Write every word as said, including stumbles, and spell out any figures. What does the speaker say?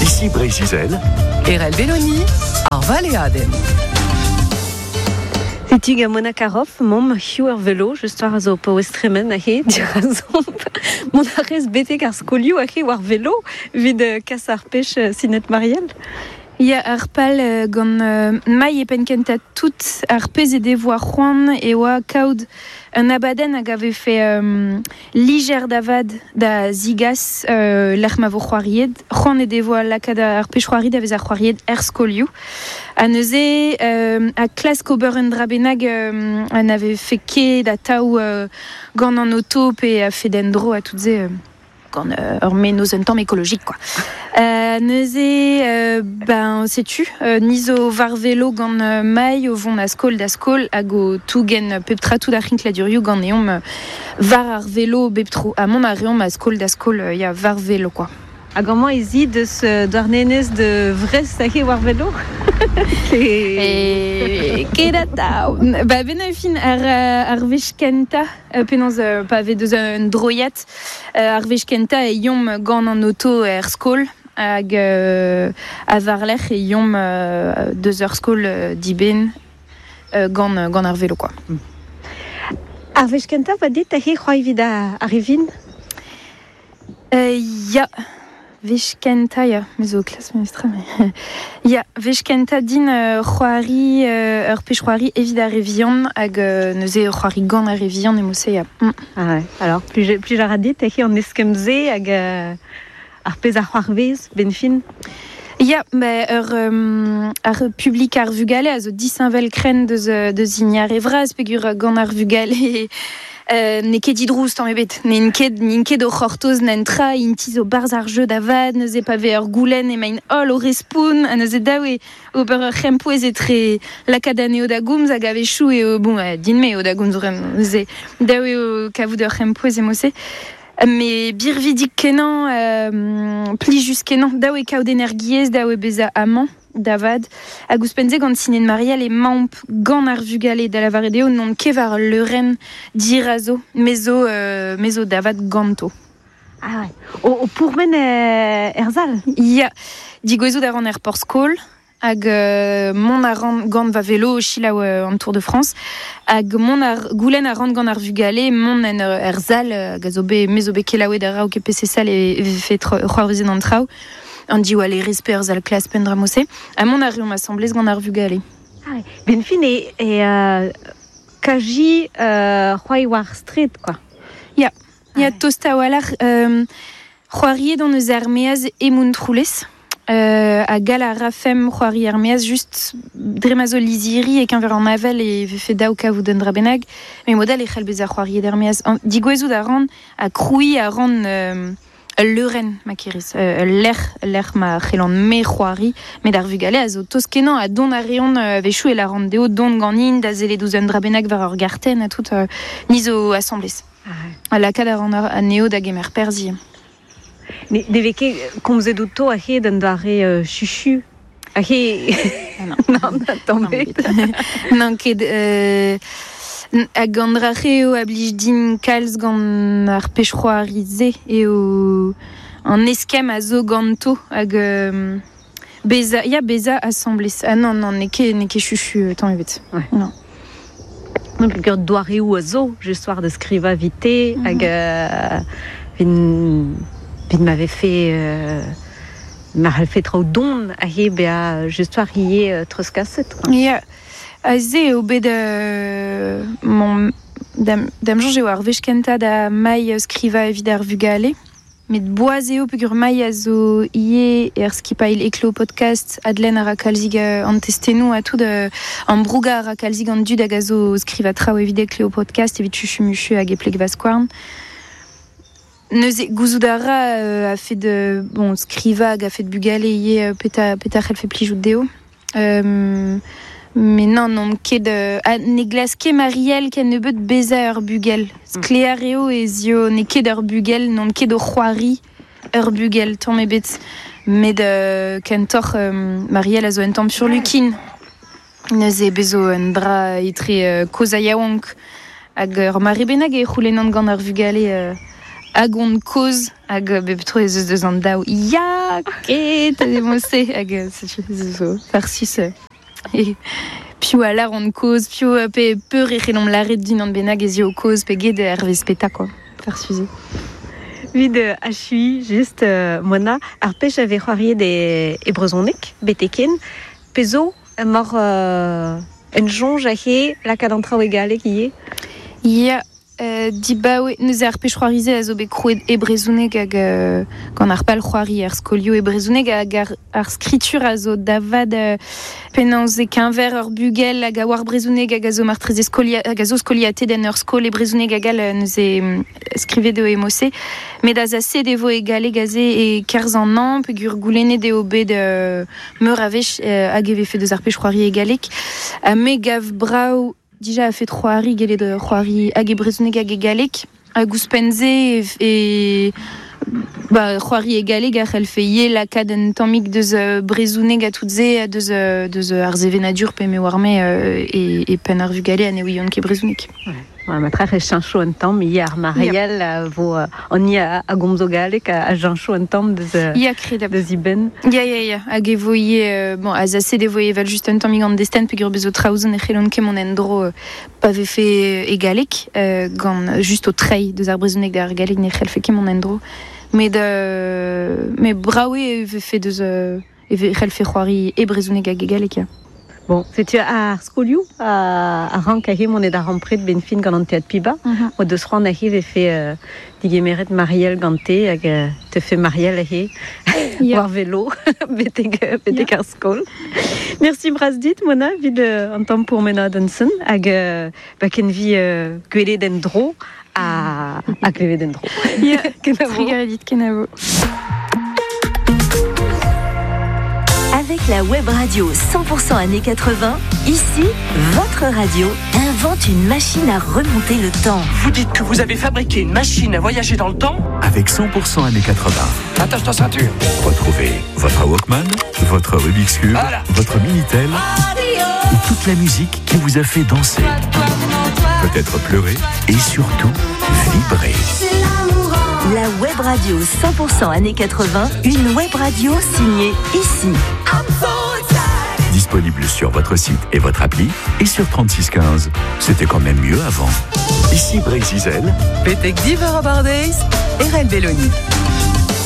Ici Breizh-Izel. Erell Beloni, ar valeadenn. Setu gant Mona Caroff, mom hiziv ar velo, just war a zo paouez tremen ahe, dirazomp. Mont a rez betek ar skolioù ahe war velo, evit kas ar pech Sinet Mariel. Ya, ar pal gant euh, mai e penn kentañ tout ar pezh e devoa c'hoant e oa kaout un abadenn hag a vefe euh, lijer da vad da zigas euh, lec'h ma vo c'hoariet. C'hoant e devoa lakaat ar pech c'hoari da vez ar c'hoariet er skolioù. Ha neuze euh, a klask ober un dra bennak euh, an ave fait ket a taou euh, gant an oto pe a fait d'en dro a tout ze euh, gant euh, ur menoz un tamm écologique quoi. Euh, neuze euh, ben setu euh, ni zo war velo gant euh, mai o vont a skol da skol hag o tougen pep tra tout ar c'hinkladurioù gant eomp euh, war ar velo bep tro. Ha mont a reomp a skol da skol euh, ya war velo quoi. Hag amañ ez i deus Douarnenez de Vrest ahe war velo? E ket atav. Ba ben a fin ar, ar wech kentañ penaos pa vez deus un droiad ar wech kentañ e yomp gant an oto er skol hag euh, a war-lerc'h e yomp euh, deus ur skol euh, diben euh, gant, gant ar velo quoi. Mm. Ar wech kentañ va dit ahe c'hoari evit ar revin? Euh, ya. Wech kentañ, ya, me zo klas memestra, mais... Ya, wech kentañ din euh, c'hoari, euh, ur pech c'hoari evit ar re vihan hag euh, neuze c'hoari gant ar re vihan e mose, ya. Mm. Ah ouais. Alors, plus, plus ar dit ahe an eskemm-se hag euh, ar pezh ar c'hoarvez, ben fin? Ya, ba, ur, um, ar publik ar vugale a zo disheñvel krenn deus, deus hini ar re vras peogwir gant ar vugale Euh, n'eo ket didrouz tamm ebet. N'int ket, n'int ket o c'hortoz n'en tra, int zo barzh ar jeu da vad, neuze pa vez ur goulenn emaint holl o respoun, ha neuze dav eo ober ur c'hempouez etre lakaat anezho da gomz hag a-wechoù eo, bon, din-me eo da gomz bremañ, neuze dav eo kavout ur c'hempouez e mose. Mais birvidik kenañ, euh, plijus kenañ, dav eo kaout energiezh, dav eo bezañ amañ da vad. Hag ouzhpenn-se gant Sinet Mariel e mamp gant ar vugale da lavaret eo n'on ket war leurenn dirazo, me zo, euh, me zo da vad ganto. Ah ouais. O, o pourmen er zal? Ya, digouezout a ran er porzh-skol, hag euh, mont a ran gant va velo o selaou euh, an Tour de France, hag mont ar goulenn a ran gant ar vugale, mont en er zal, hag a zo bet, me zo bet kelaouet ar raok e P C sal e, e vefe c'hoarvezet an traoù. An diwallerez pe ur zal klas penn dramose, ha mont a reomp asamblez gant ar vugale. Ah ouais. Ben fin e, e euh, kaji euh, c'hoari war street, quoi. Ya, ya, Ah ouais. tost a-walc'h, euh, c'hoariet an eus ar meaz e Montroulez, euh, ha gall a rafemp c'hoari ar meaz just dre ma zo lizhiri e keñver an avel e vefe daou kavout un dra bennak, met modal e c'hell bezañ c'hoariet ar meaz. An, digouezout a ran ha krouiñ a ran euh, ul leurenn, ma kerez, euh, ul lec'h, lec'h ma c'hellan me c'hoari, met ar vugale a zo tost kenañ ha dont a reont euh, a-wechoù e lâran dezho dont ganin da sellet ouzh un dra bennak war ur gartenn ha tout, euh, ni zo asamblez. Ah ouais. Ha lakaat a ran ar anezho da gemer perzh. Ne, ne vez ket komzet outo ahe d'an doare euh, chuchu? Ahe... Ah non. Non, tamm ebet. Non, ket... Euh, hag an dra eo a blij din kalz gant ar pech c'hoari-se eo an eskemm a zo ganto hag euh, beza, ya beza asamblez. Ah non, non, n'eo ket, n'eo ket chuchu tamm ebet. Ouais. Non. Non, peogwir doareoù a zo, just war da skrivañ vite, Mhm. hag euh, vin, vin m'avait fait euh, ma c'hellfe traoù don ahe bezañ just war ivez euh, treuzkaset, quoi. Ya, aze eo bet euh, mon dam, dam soñj eo ar wech kentañ da mai skrivañ evit ar vugale. Met boaz eo peogwir mai a zo ivez er skipailh Eklo podcast Adlen a ra kalzig an testennoù ha tout euh, an brouga a ra kalzig an dud hag a zo skrivañ traoù evit Eklo podcast evit chuchu-muchu hag e pleg va skouarn. Neuze gouzout a ra euh, a fet de, bon, skrivañ hag a fet bugale ivez peta, peta c'hellfe plijout dezho. Euh, mais non, non, ket euh, a, ne glask ket Marielle ken nebeut bezañ ur bugel. Sklaer eo ez eo n'eo ket ur bugel, n'on ket o c'hoari ur bugel, tamm ebet. Met euh, kentoc'h euh, Marielle a zo un tamm furlukin. Neuze bezo un dra etre euh, kozh ha yaouank hag ur mare bennak e c'houlennan gant ar vugale euh, hag on koz hag euh, bep tro ez eus deus an daou ya ket a demose hag setu ez eus farsus e piv a lar on koz piv pe peur e c'hellomp laret din an bennak ez eo koz pe get ar vez peta quoi farsus. Vid achui just euh, Mona ar pech ave c'hoariet e, e brezhoneg beteken pezo mor euh, en jonge ahe lakaat an traoù e galleg ivez. Ya euh, dibaoe neuze ar pech c'hoarize a zo bet krouet e brezhoneg hag euh, gant ar pal c'hoari ar skolioù e brezhoneg hag ar, ar skritur a zo davad euh, penaos e keñver ur bugel hag a oar brezhoneg hag a zo martreze skolia hag a zo skoliatet en ur skol e brezhoneg hag all neuze skrivet eo e mose met a zase devo e galleg aze e kerzh an an peogwir goulennet eo bet euh, meur a wech euh, hag e vefe deus ar pech c'hoari e galleg ha me gav brav dija a fet c'hoari gellet c'hoari hag e brezhoneg hag e galleg hag ouzhpenn-se e, e ba c'hoari e galleg a c'hellfe ivez lakaat un tammig deus brezhoneg ha tout se deus deus ar sevenadur pe me oar me e, e penn ar vugale ha ne ouiont ket brezhoneg. Ouais, ma trac'h e cheñcho un tamm ivez ar Marielle a vo an i a, a gomzo galleg a, a cheñcho un tamm deus Ya kredabl. Deus iben. Ya, ya, ya, hag e vo ivez, bon, a zase devo evel just un tammig an destenn peogwir bezo traoù ne c'hellont ket mont en-dro pa vefe e galleg euh, gant just o treiñ deus ar brezhoneg d'ar galleg ne c'hellfe ket mont en-dro. Met euh, met brav eo e vefe deus euh, e c'hellfe c'hoari e brezhoneg hag e galleg, ya. Bon, setu ar skolioù a, a rank ahe mont da rampret ben fin gant an teatr Piba. Mm -hmm. O deus c'hoant ahe vefe euh, digemeret Marielle gante hag euh, te fe Marielle ahe yeah. war velo betek, betek yeah. ar skol. Merci bras dit, Mona, vid euh, an tamm pourmenadenn-sen hag euh, ba ken vi euh, gwelet en dro a, a klevet en dro. Yeah. Kenavo. Trugarez dit, kenavo. Avec la web radio cent pour cent années quatre-vingts, ici, votre radio invente une machine à remonter le temps. Vous dites que vous avez fabriqué une machine à voyager dans le temps ? Avec cent pour cent années quatre-vingts. Attache ta ceinture. Retrouvez votre Walkman, votre Rubik's Cube, voilà. Votre Minitel et toute la musique qui vous a fait danser, peut-être pleurer et surtout vibrer. La web radio cent pour cent années quatre-vingts, une web radio signée ici. Disponible sur votre site et votre appli et sur trente-six quinze. C'était quand même mieux avant. Ici Brésil. Betek diver a bardeiz, Erel Belloni.